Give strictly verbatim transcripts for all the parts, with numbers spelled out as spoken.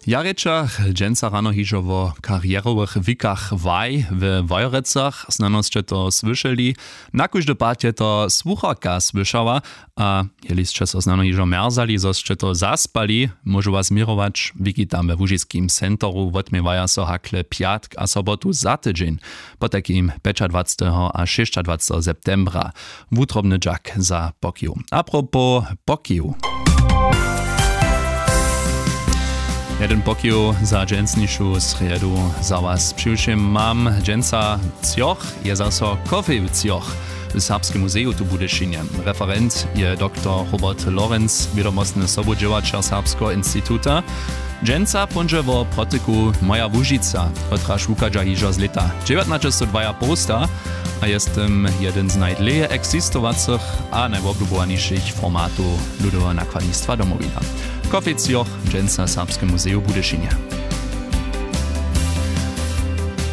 Ja rěčach dźensa rano hižo wo karjerowych wikach waj we Wojerecach. Snano sće to słyšeli. Na kóždy pad je to słucharka słyšała. A jeli sće so snano hižo mjerzali, zo sće to zaspali, móžu was změrować. Wiki tam we łužiskim centru wotměwaja so hakle pjatk a sobotu za tydźeń, potajkim pjećadwaceteho a šěsćadwaceteho septembra. Wutrobny dźak za pokiju. Apropos pokiju. Jedyn pokiju za dźensnišu srjedu za was přiwšěm mam. Dźensa třoch je zaso kofej w třoch w Serbskim muzeju tu w Budyšinje. Referent je doktor Robert Lorenz, wědomostny sobudźěłaćer Serbskeho instituta. Dźensa póńdźe wo protyku Moja Łužica, kotraž wuchadźa hižo z lěta dźewjatnaćestodwajapołsta a je z tym jedyn z najdlěje eksistowacych a najwoblubowanišich formatow ludoweho nakładnistwa Domowina. Kofej třoch dźensa w Serbskim muzeju w Budyšinje.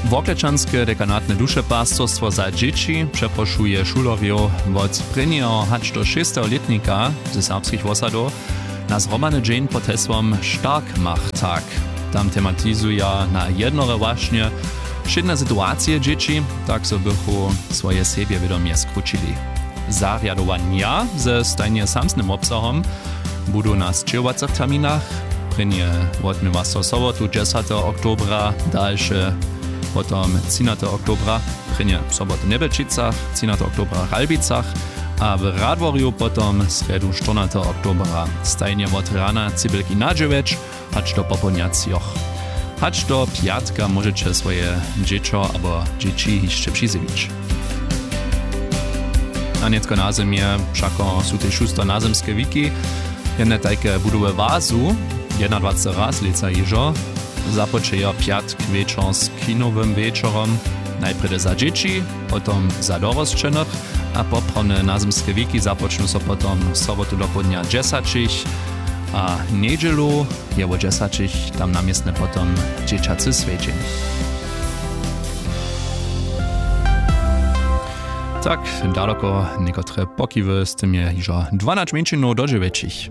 Worklečanske dekanatne dušepastorstwo za dźěći přeprošuje šulerjow wot prěnjeho hač do šěsteho lětnika ze serbskich wosadow na zhromadny dźeń pod hesłom Starkmachtag. Tam tematizuja na jednore wašnje wšědne situacije dźěći, tak zo bychu swoje sebjewědomje skrućili. Zarjadowanja ze stajnje samsnym wobsahom budu na sćěhowacych terminach. Prěnje wotměwa so sobotu dźesateho oktobra, dalše potom třinateho oktobra, prěnje sobotu w Njebjelčicach, třinateho oktobra w Ralbicach a w Radworju potom srjedu štyrnateho oktobra, stajnje wot rana cibelki na dźewjeć hač do popołdnja třoch. Hač do pjatka móžeće swoje dźěćo abo dźěći hišće přizjewić. A nětko na zymje wšako su tež husto nazymske wiki. Jedne tajke budu we Wazu, jednadwaceteho lětsa hižo. Započejo pjatk wječor z kinowym wječorom, najprjedy za dźěći, potom za dorosćenych, a poprawne nazymske wiki započnu so potom sobotu dopołdnja dźesaćich a njedźelu je wo dźesaćich tam na městnje potom dźěćacy swjedźeń. Tak, daloko někotre pokiwy, z tym je hižo dwanać mjeńšinow do dźewjećich.